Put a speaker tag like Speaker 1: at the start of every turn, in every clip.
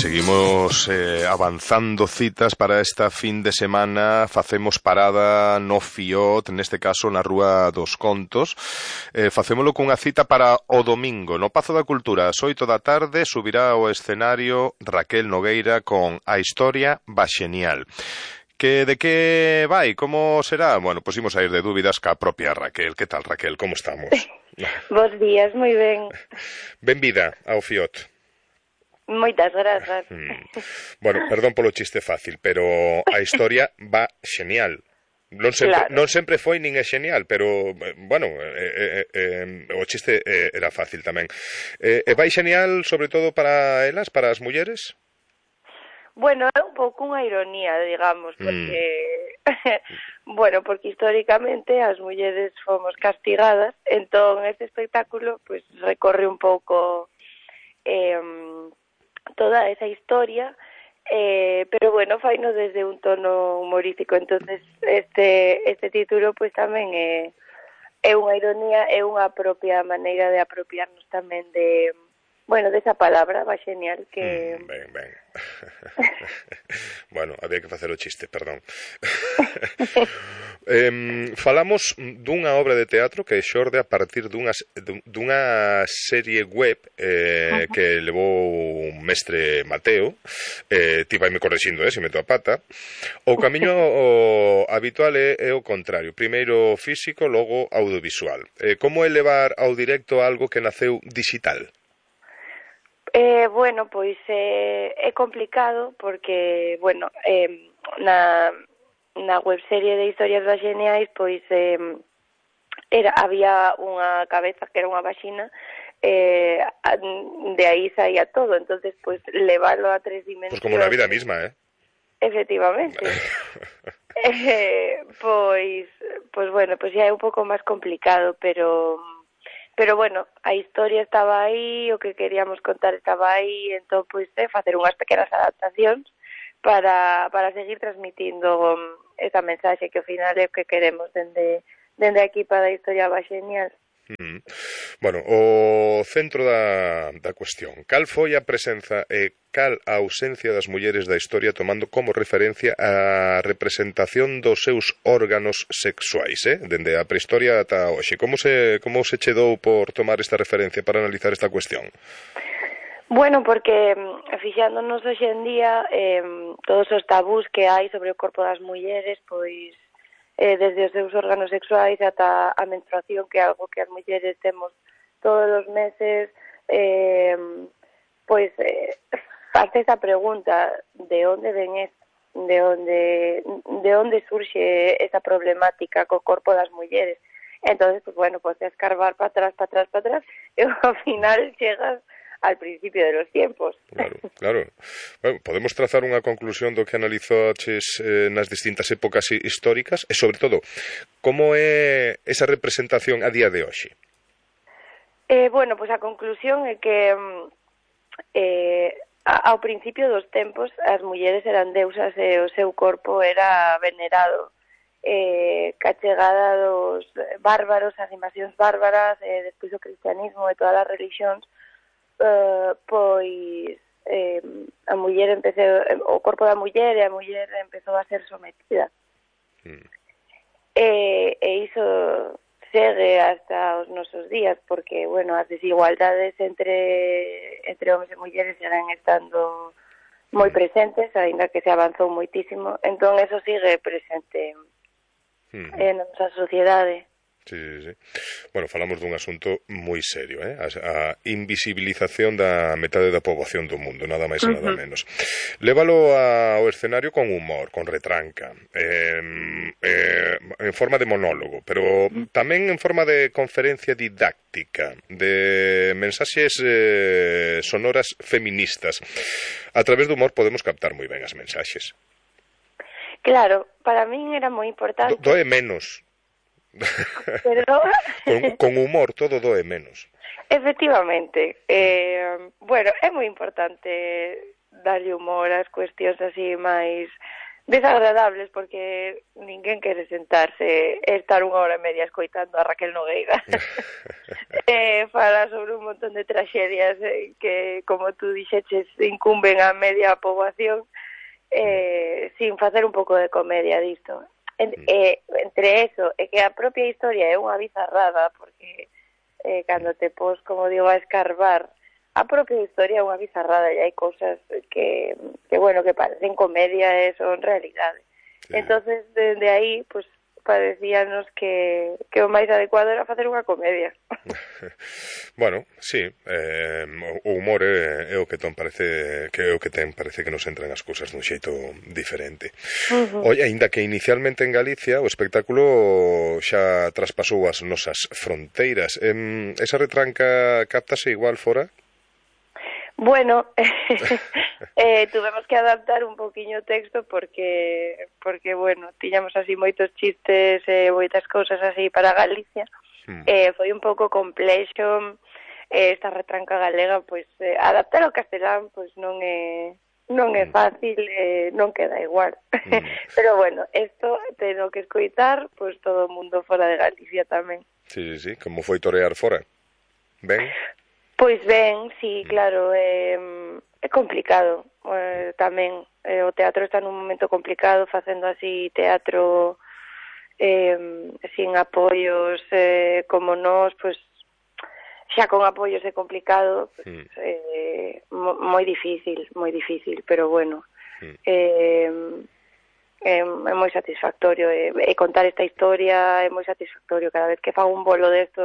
Speaker 1: seguimos avanzando citas para esta fin de semana. Facemos parada no Fiot, neste caso na Rúa dos Contos. Facémolo cunha cita para o domingo. No Pazo da Cultura, ás 8 da tarde, subirá ao escenario Raquel Nogueira con A Historia va Xenial. De que vai? Como será? Bueno, pois imos a ir de dúbidas ca propia Raquel. Que tal, Raquel? Como estamos?
Speaker 2: Bos días, moi ben.
Speaker 1: Benvida ao Fiot.
Speaker 2: Moitas grazas.
Speaker 1: Bueno, perdón polo chiste fácil, pero a historia va xenial. Non sempre foi nin é xenial, pero, bueno, o chiste era fácil tamén. E vai xenial, sobre todo para elas, para as mulleres?
Speaker 2: Bueno, é un pouco unha ironía, digamos, porque, bueno, porque históricamente as mulleres fomos castigadas, entón este espectáculo, pues, recorre un pouco toda esa historia, pero bueno, faino desde un tono humorístico, entonces este título pues tamén é unha ironía, é unha propia maneira de apropiarnos tamén de, bueno, desa palabra, va xenial, que...
Speaker 1: Ben. Bueno, había que facer o chiste, perdón. Falamos dunha obra de teatro que xorde a partir dunha serie web que levou un mestre Mateo. Ti vai me correxindo, se meto a pata. O camiño habitual é o contrario, primeiro físico, logo audiovisual. Como é levar ao directo algo que naceu digital?
Speaker 2: Bueno, pois é complicado porque, bueno, na webserie de Historias das Xeniais, pois había unha cabeza que era unha vaxina, de aí saía todo, entonces pois levarlo a 3 dimensións.
Speaker 1: Pois como na vida misma,
Speaker 2: Efectivamente. Pois bueno, pois xa é un pouco máis complicado, pero bueno, a historia estaba aí, o que queríamos contar estaba aí, entón, pois, facer unhas pequenas adaptacións para seguir transmitindo esa mensaxe que ao final é o que queremos dende a equipa da Historia va Xenial.
Speaker 1: Bueno, o centro da cuestión. Cal foi a presenza e cal a ausencia das mulleres da historia tomando como referencia a representación dos seus órganos sexuais, dende a prehistoria ata hoxe? Como se che dou por tomar esta referencia para analizar esta cuestión?
Speaker 2: Bueno, porque fixándonos hoxe en día todos os tabús que hai sobre o corpo das mulleres, pois desde os seus órganos sexuais ata a menstruación, que é algo que as mulleres temos todos os meses, pois face esa pregunta de onde ven de onde surxe esa problemática co corpo das mulleres. Entonces, pues bueno, pues escarbar para atrás, e ao final chegas al principio de los tiempos.
Speaker 1: Claro. Bueno, podemos trazar unha conclusión do que analizaches nas distintas épocas históricas e, sobre todo, como é esa representación a día de hoxe?
Speaker 2: Bueno, pues a conclusión é que ao principio dos tempos as mulleres eran deusas e o seu corpo era venerado. Ca chegada dos bárbaros, as invasións bárbaras, despois o cristianismo e todas as religións, pois a muller o corpo da muller e a muller empezou a ser sometida. E iso segue hasta os nosos días, porque, bueno, as desigualdades entre homens e mulleres seguen estando moi presentes, aínda que se avanzou moitísimo, entón eso sigue presente na nosa sociedade.
Speaker 1: Sí. Bueno, falamos dun asunto moi serio, a invisibilización da metade da poboación do mundo, nada máis e nada menos. Lévalo ao escenario con humor, con retranca, en forma de monólogo, pero tamén en forma de conferencia didáctica, de mensaxes sonoras feministas. A través do humor podemos captar moi ben as mensaxes.
Speaker 2: Claro, para min era moi importante.
Speaker 1: Doe menos.
Speaker 2: Pero...
Speaker 1: con humor todo doe menos.
Speaker 2: Efectivamente, bueno, é moi importante darlle humor ás cuestións así máis desagradables, porque ninguén quere sentarse e estar 1 hora e media escoitando a Raquel Nogueira fala sobre un montón de traxedias que, como tú dixeches, incumben a media poboación, sin facer un pouco de comedia disto. Entre eso e que a propia historia é unha bizarrada, porque cando te pos, como digo, a escarbar a propia historia é unha bizarrada e hai cousas que bueno, que parecen comedia e son realidade. Sí. Entonces, dende aí, pues, parecíanos que o máis adecuado era facer unha comedia.
Speaker 1: Bueno, sí, o humor é o que parece que nos entran as cousas dun xeito diferente. Oye, aínda que inicialmente en Galicia o espectáculo xa traspasou as nosas fronteiras, esa retranca captase igual fora?
Speaker 2: Bueno, tuvemos que adaptar un poquinho o texto porque bueno, tiñamos así moitos chistes e moitas cousas así para Galicia. Foi un pouco complexo esta retranca galega, pois adaptar ao castelán pois non é fácil, non queda igual. Pero bueno, isto teno que escoitar pois todo o mundo fora de Galicia tamén.
Speaker 1: Sí, como foi torear fora? Ben?
Speaker 2: Pois ben, sí, claro, é complicado tamén. O teatro está nun momento complicado, facendo así teatro sin apoios como nós, pois xa con apoios é complicado, pues, moi difícil, pero bueno, é moi satisfactorio, e contar esta historia é moi satisfactorio. Cada vez que fago un bolo desto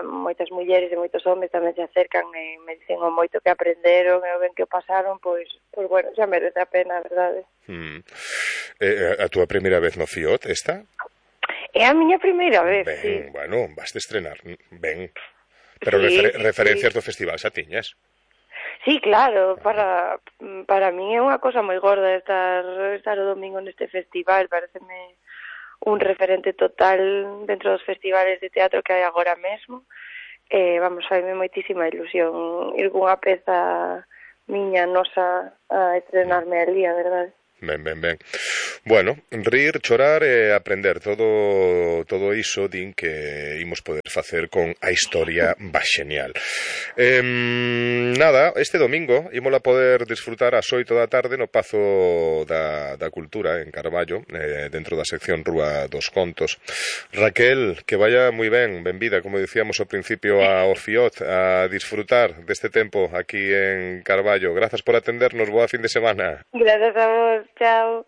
Speaker 2: moitas mulleres e moitos homes tamén se acercan e me dicen o moito que aprenderon e o ben que o pasaron, pois bueno, xa merece a pena, a verdade.
Speaker 1: A túa primeira vez no FIOT, esta?
Speaker 2: É a miña primeira vez,
Speaker 1: ben,
Speaker 2: sí.
Speaker 1: Bueno, vas de estrenar, ben. Pero sí, referencias do festival xa tiñas.
Speaker 2: Sí, claro, para mí é unha cosa moi gorda estar o domingo neste festival, pareceme un referente total dentro dos festivales de teatro que hai agora mesmo. Vamos, faime moitísima ilusión ir cunha peza miña, nosa, a estrenarme ali, a verdade.
Speaker 1: Ben. Bueno, rir, chorar e aprender todo iso din que imos poder facer con a historia baxenial. Nada, este domingo ímola poder disfrutar ás 8 da tarde no Pazo da Cultura en Carballo, dentro da sección Rúa dos Contos. Raquel, que vaya moi ben, benvida, como dicíamos ao principio, ao FIOT, a disfrutar deste tempo aquí en Carballo. Grazas por atendernos, boa fin de semana.
Speaker 2: Grazas a vos, chao.